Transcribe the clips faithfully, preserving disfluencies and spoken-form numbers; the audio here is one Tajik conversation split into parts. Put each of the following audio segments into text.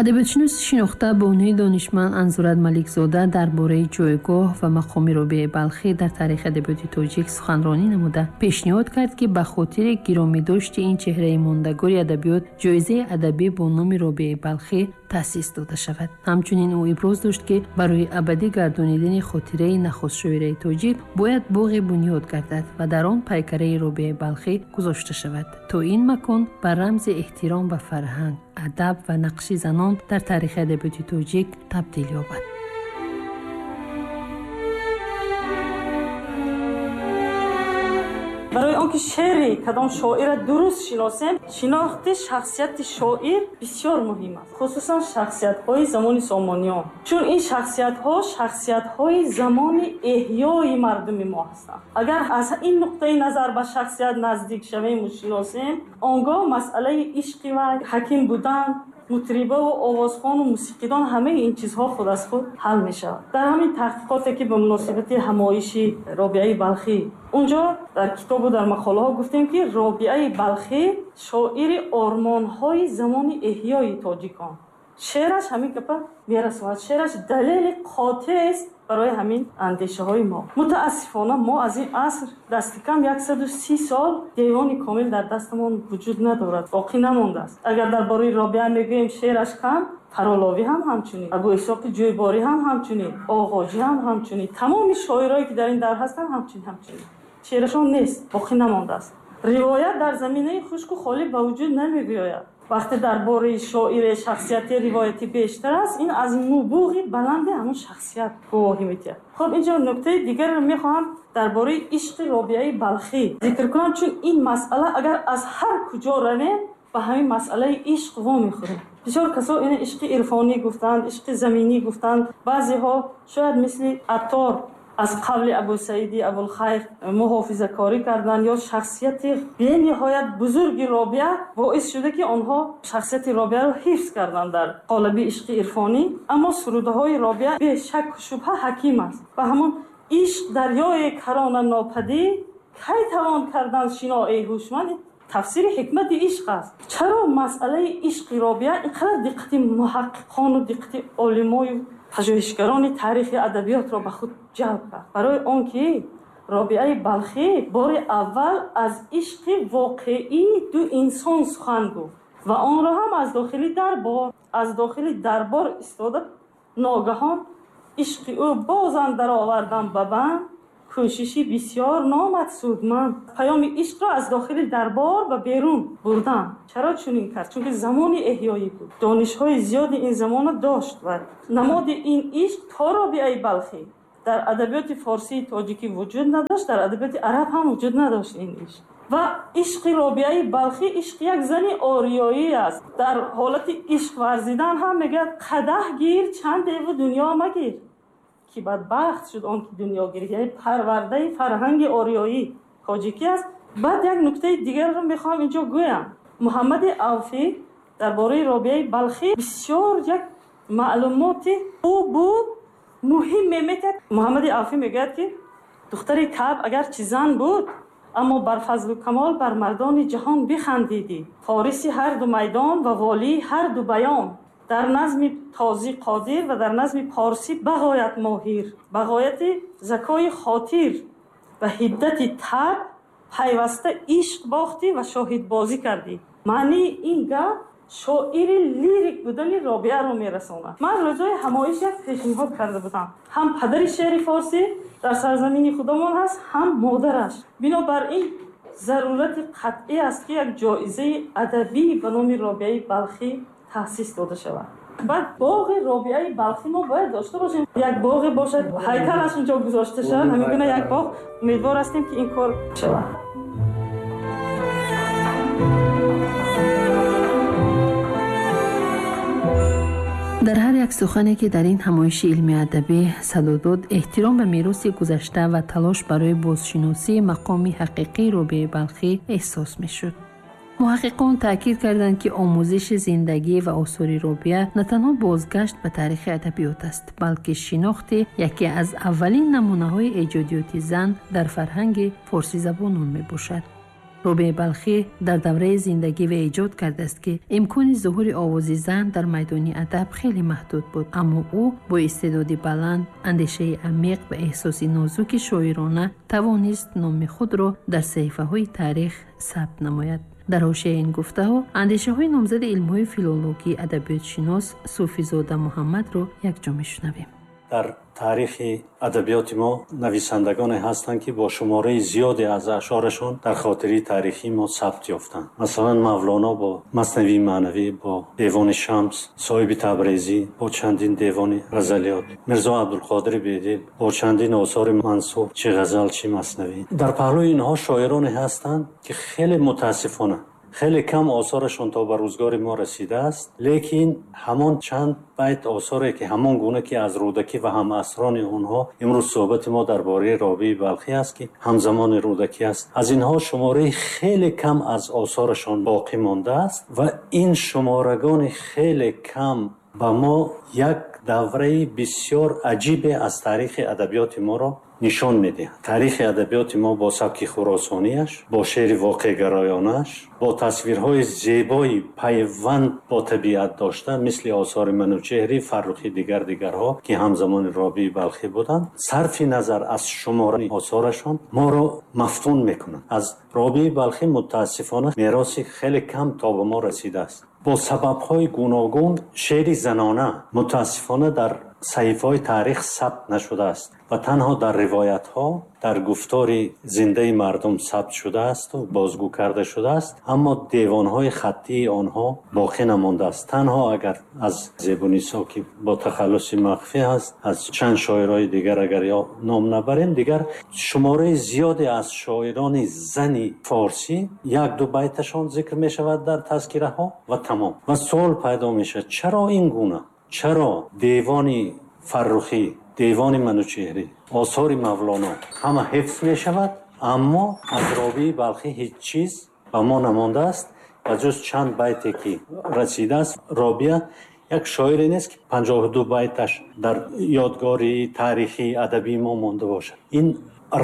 Адабиётшиноси шинохта бонуи донишманд Анзурат Маликзода дар бораи ҷойгоҳ ва мақоми Робиаи Балхӣ дар таърихи адабиёти тоҷик суханронӣ намуда пешниҳод кард, ки ба хотири гиромидошти ин чеҳраи мондагори адабиёт ҷоизаи адабӣ бо номи Робиаи Балхӣ таъсис дода шавад. Ҳамчунин ӯ иброз дошт, ки барои абадӣ гардонидани хотираи нахустшоираи тоҷик бояд боғе бунёд гардад ва дар он пайкараи Робиаи Балхӣ гузошта шавад, то ин макон ба рамзи эҳтиром ба фарҳанг, адаб ва нақши занон дар таърихи адабиёти тоҷик табдил ёбад. Барои он ки шеъри кадом шоирро дуруст шиносем, шинохти шахсияти шоир бисёр муҳим аст, хусусан шахсиятҳои замони Сомониён, чун ин шахсиятҳо шахсиятҳои замони эҳёи мардуми мо ҳастанд. Агар аз ин нуқтаи назар ба шахсият наздик шавему шиносем, он гоҳ масъалаи ишқи вай, ҳаким будан, мутрибаву овозхону мусиқидон, ҳамаи ин чизҳо худ аз худ ҳал мешавад. Дар ҳамин таҳқиқоте ки ба муносибати ҳамоиши Робиаи Балхӣ, унҷо дар китобу дар мақолаҳо гуфтем, ки Робиаи Балхӣ шоири ормонҳои замони эҳёи тоҷикон. Шеъраш ҳамин гапа мерасонад. Шеъраш далели қотест барои ҳамин андешаҳои мо. Мутаассифона мо аз ин аср дасти кам яксаду си сол девони комил дар дастамон вуҷуд надорад, боқӣ намондааст. Агар дар бораи Робиа мегӯем шеъраш кам, Фароловӣ ҳам ҳамчунин, Абу Исҳоқи Ҷӯйборӣ ҳам ҳамчунин, Оғоҷӣ ҳам ҳамчунин, тамоми шоирое ки дар ин дар ҳастанд ҳамчунин ҳамчунин шеърашон нест, боқӣ намондааст. Ривоят дар заминаи хушку холӣ ба вуҷуд намебиёяд. Вақте дар бораи шоире шахсияти ривоятӣ бештар аст, ин аз нубуғи баланди ҳамон шахсият гувоҳӣ медиҳад. Хуб, инҷо нуктаи дигарро мехоҳам дар бораи ишқи Робиаи Балхӣ зикр кунам, чун ин масъала агар аз ҳар куҷо равем ба ҳамин масъалаи ишқ вомехӯрем. Бисёр касо ина ишқи ирфонӣ гуфтанд, ишқи заминӣ гуфтанд, баъзеҳо шояд мисли Аттор аз қавли Абу Саиди Абулхайр муҳофизакорӣ карданд ё шахсияти бениҳоят бузурги Робиа боис шуда, ки онҳо шахсияти Робиаро ҳифз карданд дар қолаби ишқи ирфонӣ. Аммо сурудаҳои Робиа бешакку шубҳа ҳаким аст ва ҳамон ишқ дарёе карона нопадид, кай тавон кардан шинои ҳушманд, тафсири ҳикмати ишқ аст. Чаро масъалаи ишқи Робиа ин қадар диққати муҳаққиқону диққати олимою пажӯҳишгарони таърихи адабиётро ба худ ҷалб кард? Барои он ки Робиаи Балхӣ бори аввал аз ишқи воқеии ду инсон сухан гуфт ва онро ҳам аз дохили дарбор, аз дохили дарбор истода ногаҳон ишқи ӯ бозам даровардан ба банд, кӯшиши бисёр номад судманд. Паёми ишқро аз дохили дарбор ба берун бурдан. Чаро чунин кард? Чунки замони эҳёӣ буд, донишҳои зиёди ин замонро дошт ва намоди ин ишқ то Робиаи Балхӣ дар адабиёти форсии тоҷикӣ вуҷуд надошт, дар адабиёти араб ҳам вуҷуд надошт ин ишқ. Ва ишқи Робиаи Балхӣ ишқи як зани ориёӣ аст. Дар ҳолати ишқ варзидан ҳам мегӯяд: қадаҳ гир чандеву дунё магир, ки бадбахт шуд он ки дунё гирифт. Яъне парвардаи фарҳанги ориёӣ тоҷикӣ аст. Баъд як нуктаи дигарро мехоҳам инҷо гӯям. Муҳаммади Авфӣ дар бораи Робиаи Балхӣ бисёр як маълумоти хубу муҳим меметиҳад. Муҳаммади Авфӣ мегӯяд, ки духтари Каъб агарчи зан буд, аммо бар фазлу камол бар мардони ҷаҳон бихандидӣ, фориси ҳар ду майдон ва волии ҳар ду баён, дар назми тозӣ қодир ва дар назми порсӣ бағоят моҳир, бағояти закои хотир ва ҳиддати таб пайваста ишқ бохтӣ ва шоҳидбозӣ кардӣ. Маънии ин гап шоири лирик будани Робиаро мерасонад. Ман рӯзҳои ҳамоиш як пешниҳод карда будам. Ҳам падари шеъри форсӣ дар сарзамини худамон ҳаст, ҳам модараш. Бинобар ин зарурати қатъӣ аст, ки як ҷоизаи адабӣ ба номи Робиаи Балхӣ таъсис дода шавад. Баъд боғи Робиаи Балхӣ мо бояд дошта бошем. Як боғе бошад, ҳайкалаш инҷо гузошта шавад, ҳамин гуна як боғ. Умедвор ҳастем, ки ин кор шавад. Дар ҳар як сухане, ки дар ин ҳамоиши илмии адабӣ садо дод, эҳтиром ба мероси гузашта ва талош барои бозшиносии мақоми ҳақиқии Робиаи Балхӣ эҳсос мешуд. Муҳаққиқон таъкид карданд, ки омӯзиши зиндагӣ ва осори Робиа на танҳо бозгашт ба таърихи адабиёт аст, балки шинохти яке аз аввалин намунаҳои эҷодиёти зан дар фарҳанги форсизабонон мебошад. Робиаи Балхӣ дар давраи зиндагӣ ва эҷод кардааст, ки имкони зуҳури овози зан дар майдони адаб хеле маҳдуд буд, аммо ӯ бо истеъдоди баланд, андешаи амиқ ва эҳсоси нозуки шоирона тавонист номи худро дар саҳифаҳои таърих сабт намояд. Дар ҳошияи ин гуфтаҳо андешаҳои номзади илмҳои филологӣ, адабиётшинос Суфизода Муҳаммадро якҷо мешунавем. Дар таърихи адабиёти мо нависандагоне ҳастанд, ки бо шумораи зиёде аз ашъорашон дар хотираи таърихии мо сабт ёфтанд. Масалан, Мавлоно бо Маснавии маънавӣ, бо Девони Шамс, Соҳиби Табрезӣ бо чандин девони ғазалиёт, Мирзо Абдулқодири Бедил бо чандин осори мансуб, чи ғазал, чи маснавӣ. Дар паҳлӯи инҳо шоироне ҳастанд, ки хеле мутаассифона хеле кам осорашон то ба рӯзгори мо расидааст, лекин ҳамон чанд байт осоре, ки ҳамон гуна ки аз Рӯдакӣ ва ҳамасрони онҳо, имрӯз суҳбати мо дар бораи Робиаи Балхӣ аст, ки ҳамзамони Рӯдакӣ аст, аз инҳо шумораи хеле кам аз осорашон боқӣ мондааст ва ин шуморагони хеле кам ба мо як давраи бисёр аҷибе аз таърихи адабиёти моро нишон медиҳад. Таърихи адабиёти мо бо сабки хуросониаш, бо шеъри воқеъгароёнааш, бо тасвирҳои зебои пайванд бо табиат дошта, мисли осори Манучеҳрӣ, Фаррухӣ, дигар дигарҳо, ки ҳамзамони Робиаи Балхӣ буданд, сарфи назар аз шумораи осорашон моро мафтун мекунанд. Аз Робиаи Балхӣ мутаассифона мероси хеле кам то ба мо расидааст. Бо сабабҳои гуногун шеъри занона мутаассифона дар саҳифаҳои таърих сабт нашудааст ва танҳо дар ривоятҳо, дар гуфтори зиндаи мардум сабт шудааст ва бозгӯ карда шудааст, аммо девонҳои хаттии онҳо боқӣ намондааст. Танҳо агар аз Зебунисо, ки бо тахаллуси махфӣ аст, аз чанд шоирои дигар агар ё ном набарем, дигар шумораи зиёде аз шоирони зани форсӣ як ду байташон зикр мешавад дар тазкираҳо ва тамом. Ва суол пайдо мешавад, чаро ин гуна? Чаро девони Фаррухӣ, девони Манучеҳрӣ, осори Мавлоно ҳама ҳифз мешавад, аммо аз Робиаи Балхӣ ҳеҷ чиз ба мо намондааст ва ҷуз чанд байте ки расидааст. Робиа як шоире нест, ки панҷоҳу ду байташ дар ёдгори таърихии адабии мо монда бошад. Ин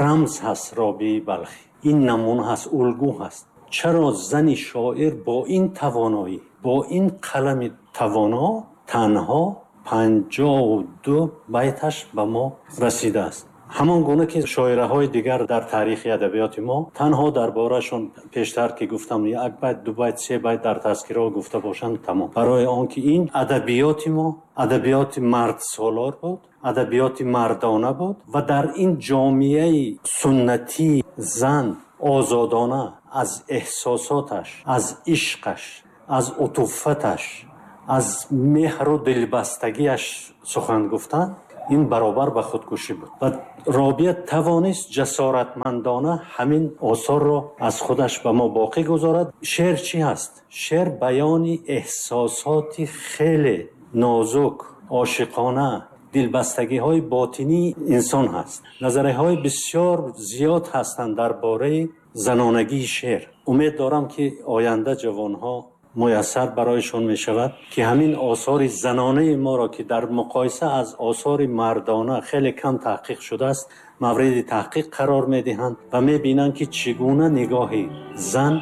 рамз ҳаст Робиаи Балхӣ, ин намуна ҳаст, улгӯ ҳаст. Чаро зани шоир бо ин тавоноӣ, бо ин қалами тавоно танҳо панҷоҳу ду байташ ба мо расидааст? Ҳамон гуна ки шоираҳои дигар дар таърихи адабиёти мо танҳо дар борашон пештар ки гуфтам як байт, ду байт, се байт дар тазкираҳо гуфта бошанд, тамом. Барои он ки ин адабиёти мо адабиёти мардсолор буд, адабиёти мардона буд ва дар ин ҷомеаи суннатии зан озодона аз эҳсосоташ, аз ишқаш, аз утуфаташ, аз меҳру дилбастагиаш сухан гуфтан, ин баробар ба худкушӣ буд. Ва Робиа тавонист ҷасоратмандона ҳамин осорро аз худаш ба мо боқӣ гузорад. Шеър чӣ ҳаст? Шеър баёни эҳсосоти хеле нозук, ошиқона, дилбастагиҳои ботинии инсон ҳаст. Назарияҳои бисёр зиёд ҳастанд дар бораи занонагии шеър. Умед дорам, ки оянда ҷавонҳо муяссар барояшон мешавад, ки ҳамин осори занонаи моро, ки дар муқоиса аз осори мардона хеле кам таҳқиқ шудааст, мавриди таҳқиқ қарор медиҳанд ва мебинанд, ки чӣ гуна нигоҳи зан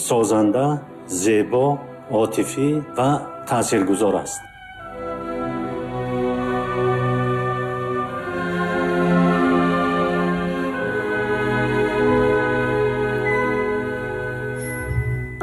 созанда, зебо, отифӣ ва таъсиргузор аст.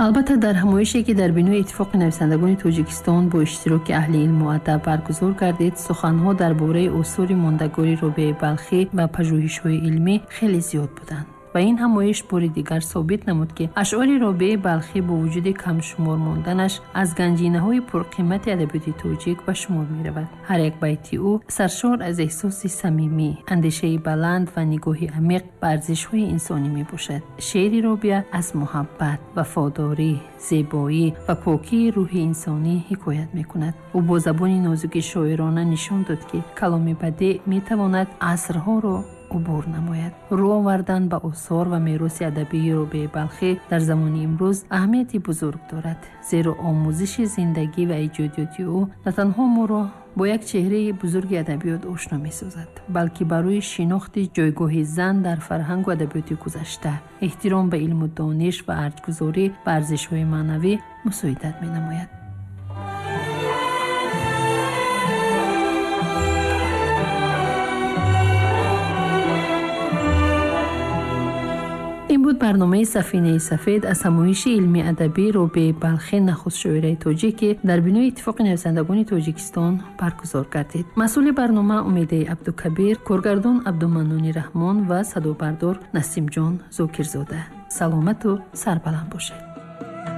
Албатта, дар ҳамоише, ки дар бинои Иттифоқи нависандагони Тоҷикистон бо иштироки аҳли илму адаб баргузор гардид, суханҳо дар бораи осори мондагори Робиаи Балхӣ ва пажӯҳишҳои илмӣ хеле зиёд буданд. Ва ин ҳамоиш бори дигар собит намуд, ки ашъори Робиаи Балхӣ бо вуҷуди камшумор монданаш аз ганҷинаҳои пурқимати адабиёти тоҷик ба шумор меравад. Ҳар як байти ӯ саршор аз эҳсоси самимӣ, андешаи баланд ва нигоҳи амиқ ба арзишҳои инсонӣ мебошад. Шеъри Робиа аз муҳаббат, вафодорӣ, зебоӣ ва покии рӯҳи инсонӣ ҳикоят мекунад. Ӯ бо забони нозуки шоирона нишон дод, ки каломи бадеъ метавонад асрҳоро убур намояд. Рӯ овардан ба осор ва мероси адабии Робиаи Балхӣ дар замони имрӯз аҳамияти бузург дорад, зеро омӯзиши зиндагӣ ва эҷодиёти ӯ на танҳо моро бо як чеҳраи бузурги адабиёт ошно месозад, балки барои шинохти ҷойгоҳи зан дар фарҳангу адабиёти гузашта, эҳтиром ба илму дониш ва арҷгузорӣ ба арзишҳои маънавӣ мусоидат менамояд. Ин буд барномаи Сафинаи сафед аз ҳамоиши илмии адабӣ Робиаи Балхӣ, нахуст шоираи тоҷик, ки дар бинои Иттифоқи нависандагони Тоҷикистон баргузор гардид. Масъули барнома Умедаи Абдукабир, коргардон Абдуманнони Раҳмон ва садобардор Насимҷон Зокирзода. Саломату сарбаланд бошед.